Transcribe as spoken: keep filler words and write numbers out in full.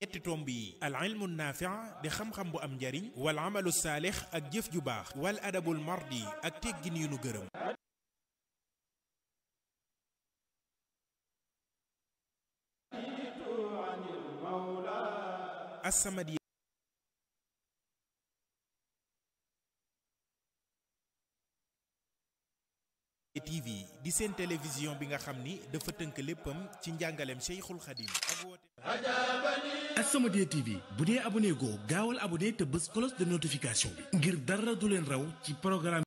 ñetti tomb yi al ilmu naafi' di xam-xam bu am njariñ wal amalu saalix ak jëf ju baax wal adabul mardi ak teggin yu nu gërëm. As-Samadiyya T V di seen télévision bi nga xam ni dafa tënk léppam ci njàngaleem Cheikhul Khadim ak woote As-Samadiyya T V bu dee abonné goo gaawal abonné te bës cloche de notification bi ngir dara du leen raw ci programme